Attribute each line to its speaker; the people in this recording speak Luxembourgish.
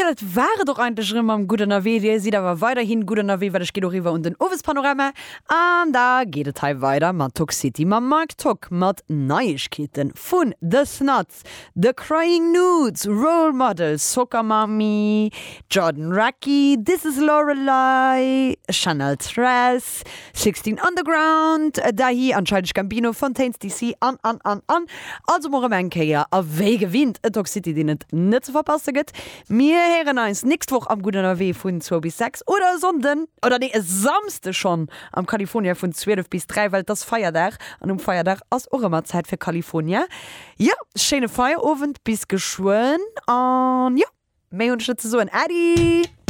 Speaker 1: Jo, dat war et och eigentlech erëm mam Gutt Ënnerwee. Dir sidd awer weiderhin gutt ënnerwee, well ech ginn och eriwwer un den Owespanorama an da geet et hei weider mat Tock City mam Marc Tock mat Neiegkeete vun The Snuts, The Crying Nudes, Role Model, Soccer Mommy, Jordan Rakei, This Is Lorelei, Chanel Tress, 16 Underground, Dahi an Childish Gambino, Fontaines DC an an an an. Also mol rëm eng Kéier a wéi gewinnt e Talk City deen et net ze verpasse gëtt. Mir héieren eis nächst Woch am Gutt Ënnerwee vun zwou bis 6 oder e Sonnden, oder nee e Samsde schonn am California vun 12 bis 3, well et ass Feierdag an um Feierdag ass och ëmmer Zäit fir California. Jo, schéine Feierowend, bis geschwënn an jo, méi hunn ech net ze soen. Äddi!